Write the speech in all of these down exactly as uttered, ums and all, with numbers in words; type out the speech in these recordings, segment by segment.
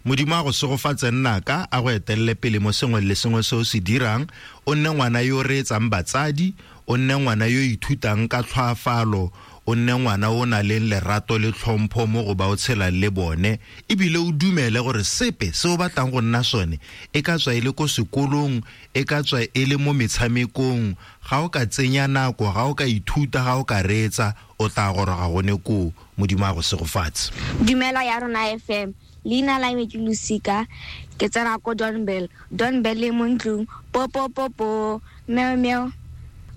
Modimo a go segofatse nnaka, a go etelele pele mo sengwe le sengwe se o se dirang. O nne ngwana yo o reetsang batsadi, o nne ngwana yo ithutang ka tlhoafalo, o nne ngwana o na leng lerato le tlhompho mo go ba o tshelang le bone, ebile o dumele gore sepe se o batlang go nna sone, e ka tswa e le ko sekolong, e ka tswa e le mo metshamekong, ga o ka tsenya nako, ga o ka ithuta, ga o ka reetsa, o tla goroga gone koo. Modimo a go segofatse. Dumela ya rona F M. Leina la me ke Losika, ke tsena ko Donbell. Donbell e mo ntlong, po po po po, meow meow.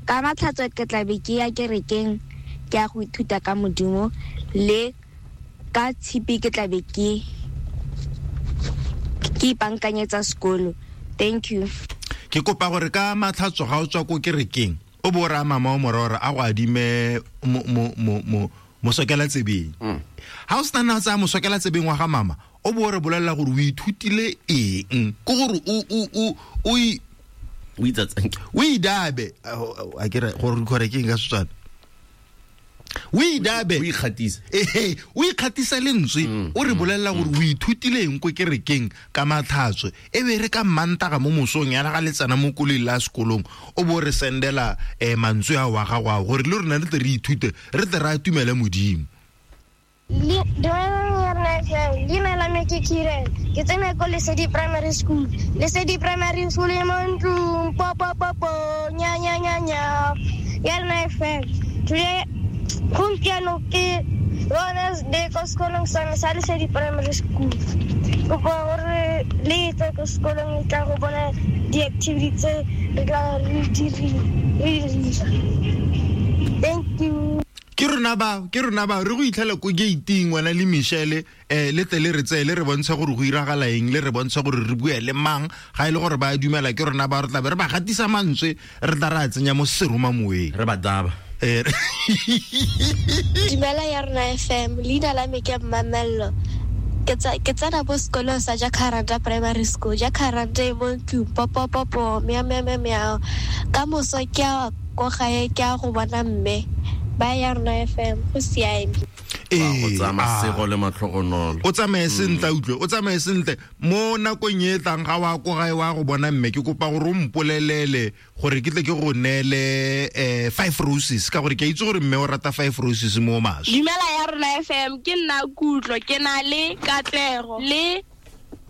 Ka matlhatso ke tla be ke ya kerekeng, ke ya go ithuta ka Modimo, le ka tshipi ke tla be ke ke ipankanyetsa sekolo. Thank you. Ke kopa gore ka matlhatso ga o tswa ko kerekeng, o bo raya mama o morora a go adime mo mo mo mo mosokela tsebeng. Ha o sena tsa mosokela tsebeng wa ga mama, o bo re bolela gore o ithutile eng, ke gore o o o o o itsatsang, o idabe a ke re gore gore ke eng ka Setswana, o idabe, o ikgatisa, eh o ikgatisa lentswe, o re bolela gore o ithutile eng ko kerekeng ka matlhatso, e be re ka mmantaga mo mosong ya ga letsana mo koloi la sekolong, o bo re sendela eh mantswe a wa gago a gore le rona re tle re ithute, re tle re atumele Modimo. Leina la me ke Kiren, ke tsena ko Lesedi Primary School. Lesedi Primary School e mo ntlong, po po po po, nya nya nya nya. Ya rona F M. Today gompieno ke Wednesday ko sekolong sa me sa Lesedi Primary School. Kopa gore le tle ko sekolong le tla go bona di-activity tse re tla re di dira. Thank you. Ke rona ba, ke rona ba re go itlhela ko gating wena le Michelle, eh le tle le re tseye le re bontshe gore go iragala eng, le re bontshe gore re bue le mang, ga ile gore ba dumela ke rona ba re tla be re ba gatisa mantswe, re tla re a tsenya mo seroma moeng, re ba daba. Dumela ya rona F M, leina la me ke Mamello. Ke tsena bo sekolong sa Jacaranda Primary School. Jacaranda e mo ntlong, po po po po, meow meow meow meow. Ka moso ke a ko gae, ke a go bona mme. Ba ya rona F M, go siame. Go tsaya masego le matlhogonolo. O tsamaye sentle, utlwe, o tsamaye sentle. Mo nakong e tlang ga wa ko gae wa go bona mme, ke kopa gore o mpolelele gore ke tle ke go neele eh five roses, ka gore ke itse gore mme o rata five roses mo maswe. Dumela ya rona F M, ke nna Kutlo, ke na le Katlego le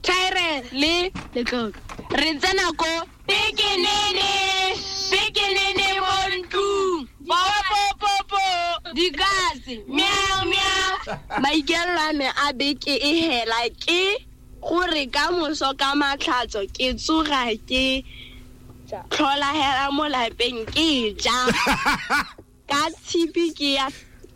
Tyrell le Letlotlo. Re tsena ko Pikinini, Pikinini mo ntlong, po po po po, dikatse, meow meow. Maikelo a me a beke e hela ke gore ka moso ka matlhatso ke tsoga ke tlhola hela mo lapeng ke ja. Ka tshipi ke ya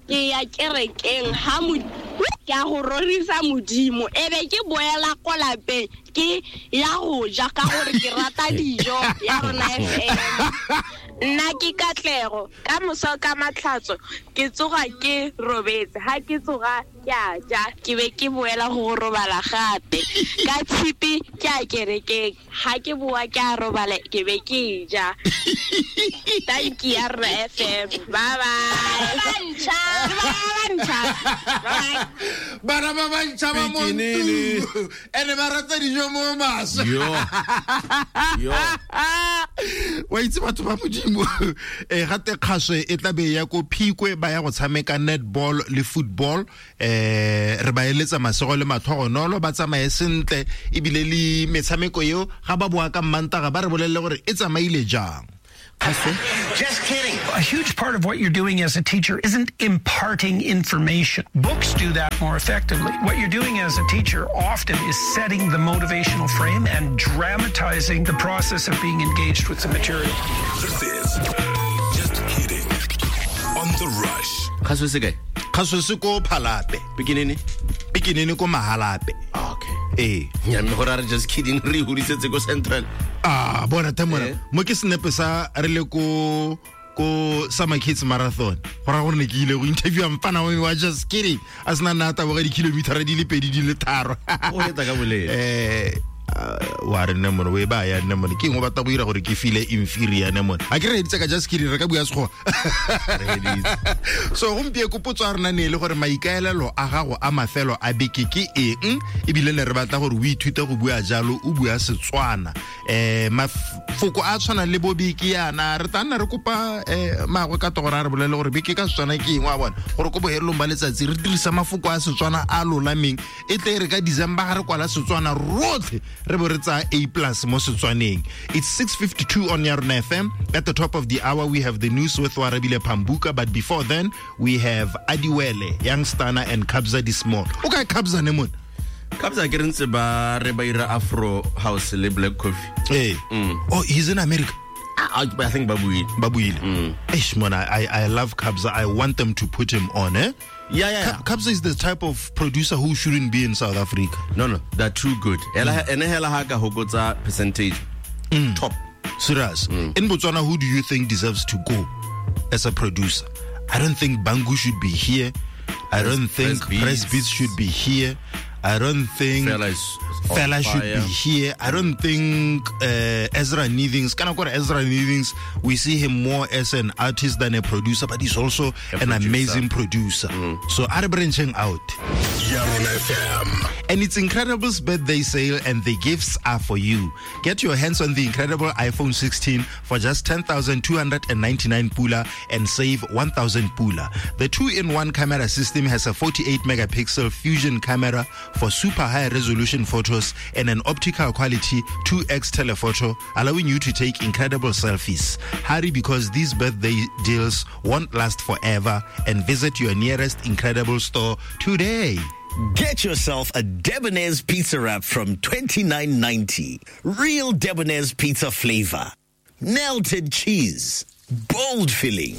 ke ya kerekeng ha mo ke a go rorisa Modimo, e be ke boela ko lapeng ke ya go ja ka gore ke rata dijo ya rona F M. Nna ke Katlego, ka moso ka matlhatso ke tsoga ke robetse, ha ke tsoga ke a ja, ke be ke boela go robala gape. Ka tshipi ke a kerekeng, ha ke boa ke a robala, ke be ke ja. Thank you ya rona F M. Bye bye. Bantšha, bantšha. Bana ba bantšha ba mo ntlong, ene ba rata dijo mo maswe. Yo. Yo. Wa itse batho ba Modimo, eh gate kgaswe e tla be ya ko Phikwe, ba ya go tshameka netball le football, eh re ba eletsa masego le matlhogonolo, ba tsamaye sentle, ebile le metshameko eo ga ba boa ka mmantaga ba re bolelle gore e tsamaile jang. Just kidding. A huge part of what you're doing as a teacher isn't imparting information. Books do that more effectively. What you're doing as a teacher often is setting the motivational frame and dramatizing the process of being engaged with the material. This is Just Kidding on The Rush. Kgaso se kae? Kgaso se ko Phalape. Pikinini? Pikinini ko Mahalape. Okay. Eh. Nya mme gore a re just kidding re hulisetse ko Central. Ah, bona tamona. Mo ke senepe sa re le ko ko Summer Kids Marathon. Go ra gore ne ke ile go interview mfana wa wa just kidding. A sena nna taboga di kilometer di le pedi di le tharo. O eta ka bolele. Eh Wa re nne mone o e ba ya nne mone ke eng o batla go dira gore ke feel inferior ne mone a ke re editse ka just kidding re ka bua sekgowa so gompieno potso ya rona ne e le gore maikaelelo a gago a mafelo a beke ke eng ebile ne re batla gore o ithute go bua jalo o bua Setswana eh mafoko a tshwana le bo beke yana re tla nna re kopa eh magwe ka togora re bolele gore beke ka Setswana ke eng wa bona gore ko bohelelong ba letsatsi re dirisa mafoko a Setswana a lolameng e tle re ka December ga re kwala Setswana rotlhe re bo re tsaya A plus mo Setswaneng. It's six fifty-two on Yarona F M. At the top of the hour we have the news with Warabile Pambuka, but before then we have Adiwele, Young Stana and Kabza De Small. Okay, Kabza ne mon. Kabza ke rentse ba re ba ira Afro House le Black Coffee. Hey. Mm. Oh, he's in America. I, I think Babuile. Babuile. Mm. Eish, man, I, I love Kabza. I want them to put him on, eh? Yeah, yeah, yeah. Kabza is the type of producer who shouldn't be in South Africa. No, no, they're too good. Ene hela ha ka hokotsa percentage. Mm. Top. Serious. Mm. In Botswana, who do you think deserves to go as a producer? I don't think Bangu should be here. I don't think Press Beats should be here. I don't think Fela, is Fela should be here. I don't think uh, Ezra Neethings, kind of Ezra Neethings, we see him more as an artist than a producer, but he's also a an producer. amazing producer. Mm. So I'm branching out. Yarona F M. And it's Incredible's birthday sale, and the gifts are for you. Get your hands on the incredible iPhone sixteen for just ten thousand two hundred ninety-nine pula and save one thousand pula. The two-in-one camera system has a forty-eight megapixel fusion camera for super high resolution photos and an optical quality two X telephoto, allowing you to take incredible selfies. Hurry, because these birthday deals won't last forever, and visit your nearest Incredible store today. Get yourself a Debonair's pizza wrap from twenty-nine ninety. Real Debonair's pizza flavor. Melted cheese. Bold filling.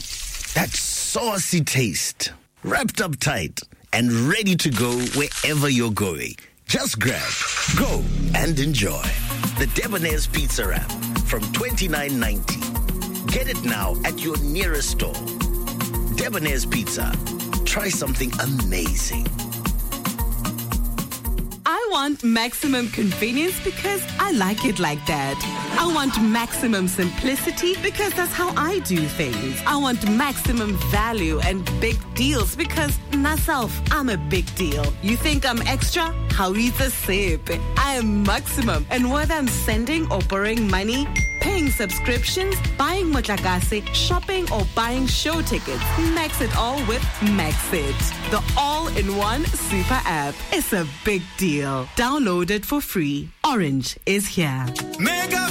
That saucy taste. Wrapped up tight and ready to go wherever you're going. Just grab, go, and enjoy. The Debonair's Pizza Wrap from twenty-nine ninety. Get it now at your nearest store. Debonair's Pizza. Try something amazing. I want maximum convenience because I like it like that. I want maximum simplicity because that's how I do things. I want maximum value and big deals because myself, I'm a big deal. You think I'm extra? How eat a sip? I am maximum. And whether I'm sending or borrowing money, paying subscriptions, buying motlakase, shopping or buying show tickets, max it all with Maxit, the all-in-one super app. It's a big deal. Download it for free. Orange is here. Mega